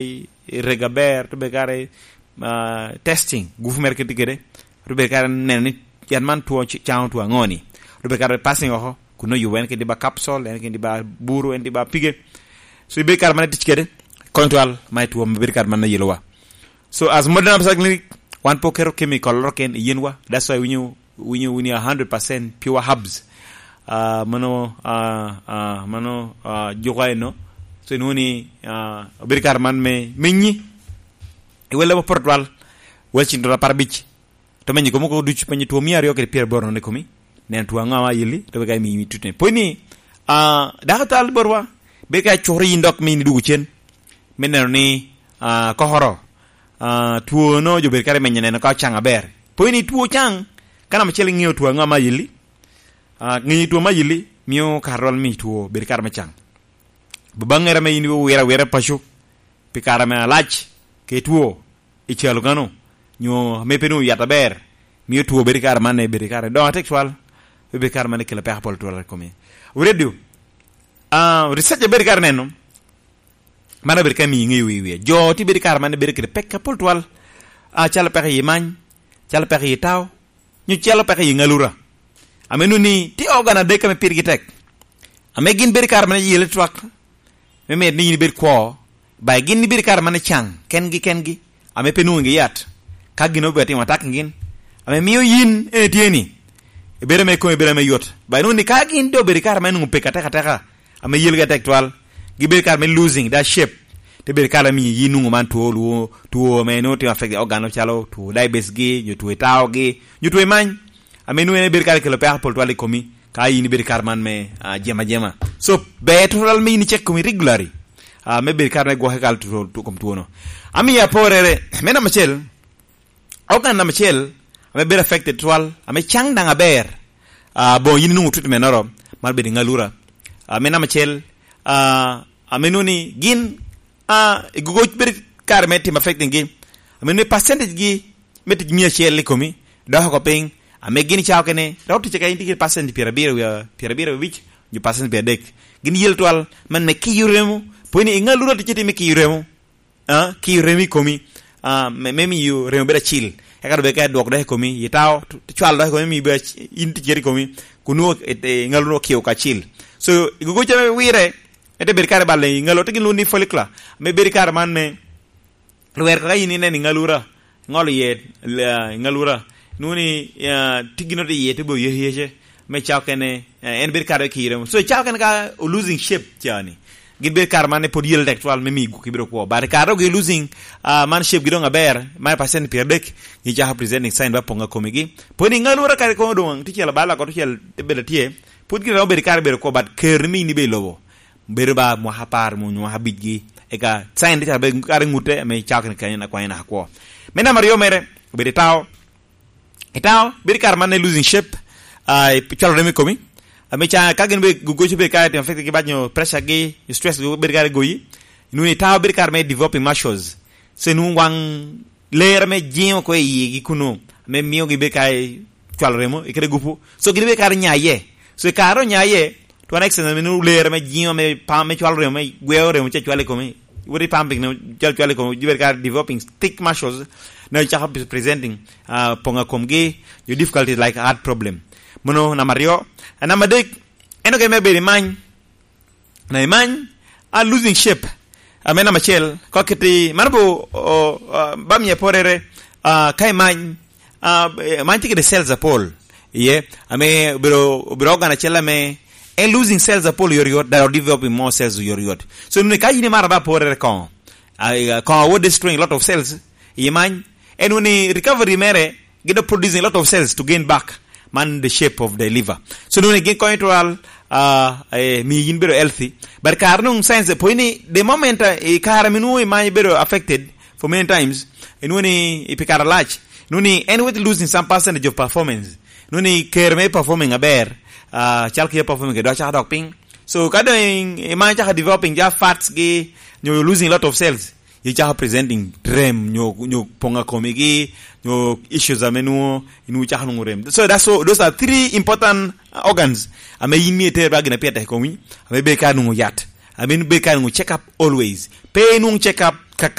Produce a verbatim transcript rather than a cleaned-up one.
i, i rego aber, te bedo kare, ah, testing, gupu mere kede kede, te bedo kare neno ni yat man two, caŋo two aŋo ni, te bedo kare passing oko, kun oyubo en kede ba capsule, en kede ba buru, en kede ba pige. So, ibedo kare man itic kede, konyo twal, ma i two, bedo kare man oyelowa. So, as modern obstetric clinic, wan pe oketo chemical oro ken i yinwa. That's why winyo, winyo, winyo a hundred percent pure herbs. Ah, mano, ah, ah, mano, ah, juko eno. So, inwoŋo ni, ah, obedo kare man me, me nyi. Iwelle ma poto twal. Wel cin twal apar abic. To menyo komi oko ducu, penyo two mia aryo kede pyeraboro nono i komi. Neno two aŋo ame ayelli, to wek imi tutne. Pwony ni, ah, dako tal botwa, bedo ka curo yin dok me in idwogo cen. Me neno ni, ah, kokoro, ah, two no jo bedo kare menyo neno ka ocaŋ aber. Pwony ni two ocaŋ, ka namba acel iŋeo two aŋo ame ayelli, ah, ŋeyo two ame ayelli, mio kare rwal mi two bedo kare me caŋ. Babaŋere ame in iwiro awira i paco, pi kare ame alac, ke two, i calo kano, nyo ame pe nwoŋo yat aber, mio two bedo i kare man, bedo i kare doŋ atek twal, pe bedo i kare man kelo peko apol twal i komi. Wi radio, ah, research a bedo i kare neno, man obedo ka miyo iŋeyo i wie. Jo tye bedo i kare man bedo kede peko apol twal, ah, calo peko i many, calo peko i tao, nyo calo peko i ŋalura. Ame nwoŋo ni tye organ adek ame pirgi tek. Ame gin bedo i kare man yele twak, me medo ni yin ibed kwo, ba gin ibed i kare man icaŋ, kengi, kengi, ame pe nwoŋo gi yat, ka gin obed atimo atak i gin, ame mio yin en itye ni, ibedo ame komi bedo ame yot. Ba inwoŋo ni ka gin doŋ obedo i kare ame nwoŋo pek atek ateka, ame yelgi atek twal, gibedo kare me losing that shape, te bedo kare ame yin nwoŋo man two, lwo-, two ame nwoŋo tye affect organ calo two diabetes gi, nyo two itao gi, nyo two imany, ame nwoŋo en bedo kare kelo peko apol twal i komi, ka yin ibedo kare man me, ah, jema jema. So, ber twal me yin icek komi regularly, ah, me bedo kare me gwoke kal two, two, kom two no. Amiyo aporere, me namba acel, organ namba acel, ame bedo affected twal, ame caŋ daŋ aber, ah, boŋo yin inwoŋo treatment oro, man bedo i ŋalura. Ah, me namba acel, ah, ame nwoŋo ni gin, ah, i gogo bedo kare me timo affecting gi, ame nwoŋo ni percentage gi me tic mia acel i komi, dok oko piny, ame gin cawa kene, rok tic ka in tye kede percent pyerabiro wiye, pyerabiro wiye abic, nyo percent pyeradek. Gin yel twal, man me kiyo remo, pwony ni i ŋalura ticce tye me kiyo remo. Ah, kiyo remo i komi, ah, me, me miyo remo bedo acil. Eka doŋ bed ka dwok dok i komi, itao, t-, cwalo dok i komi, miyo bedo ac-, in ticere i komi, kun nwoŋo, e, e, ŋalo nwoŋo kiyo kacil. So, i gogo ca me wire, ete bedo kare bal i ŋalo, te gin lwongo ni follicular, me bedo kare man me, lwer kaka in ineno i ŋalura, ŋolo iye, la, i ŋalura, nwoŋo ni, ah, tye gin oti iye, te bo yece yece, me cawa kene, eh, en bedo kare kire. So, cawa kene ka o losing shape ca ni, gin bedo kare man pwod yel tek twal me miyo gwoki bedo kwo. But kare dok gi losing, ah, man shape gi doŋ aber, man percent pyeradek, nyo cako presenting sign ba poŋ a komigi. Pwod i ŋalura kare kono doŋ, tye cel abal ako, tye cel bedo tye, pwod gire doŋ bedo kare bedo kwo, but ker ni mi in ibe i lobo. Bedo ba mwaka apar, mu-, mwaka abicgi, eka sign tye calo bedo kare ŋute, ame cawa kene kanyo na kwanya naka kwo. Me namba aryo mere, obedo i tao. Itao, bedo kare man i losing shape, ah, i cwalo remo i komi. Ame ca, ka gin be gogo bedo kare timo affect gi bad nyo pressure gi, stress gi bedo kare goyi. Inwoŋo itao bedo kare me developing muscles. So inwoŋo waŋ ler ame jiŋo ko i yigi kuno, ame mio gi bedo kare cwalo remo, i kede gupu. So gin bedo kare nyaye. So i kare onyaye, to an exercise ame nwoŋo ler ame jiŋo, ame pam, ame cwalo remo, ame gweo remo ce cwalo i komi. Wot i pumping, ne cwalo, cwalo i komi, jibed ka developing thick muscles, ne cako pre-, presenting, ah, poŋo komgi, your difficulties like heart problem. Mano namba aryo. Ah, namba adek, en oke me bedo i many. Na i many, ah, losing shape. Ame namba acel, ko kiti, mano bo, o, ah, ba miye porere, ah, ka i many, ah, eh, many tye kede cells apol. Iye, ame obiro, obiro organ acel ame, en losing cells apol yot yot, that are developing more cells yot yot. So, nuni ka yin imaro ba porere koŋo, ah, koŋo what destroying a lot of cells, i many, en woni recovery mere, gi dok producing a lot of cells to gain back man the shape of the liver. So, nuni gin konyo twal, ah, eh, mi yin bedo healthy. But kare nung science pwony ni the moment, ah, i kare minwoŋo i many bedo affected for many times, inwoŋo ni i pi kare alac, inwoŋo ni en with losing some percentage of performance. Inwoŋo ni ker me performing aber, ah, cal kia performing ke dok caka dok piny. So, ka dong i many caka developing ja fats gi, nyo losing a lot of cells, icako presenting rem, nyo, nyo poŋo komigi, nyo issues ame nwoŋo, inwoŋo cako nwoŋo rem. So that's so, those are three important organs ame yin myero iter ba gin a pire tek i komi, ame bedo ka nwoŋo yat, ame bedo ka nwoŋo check up always. Pe nwoŋo check up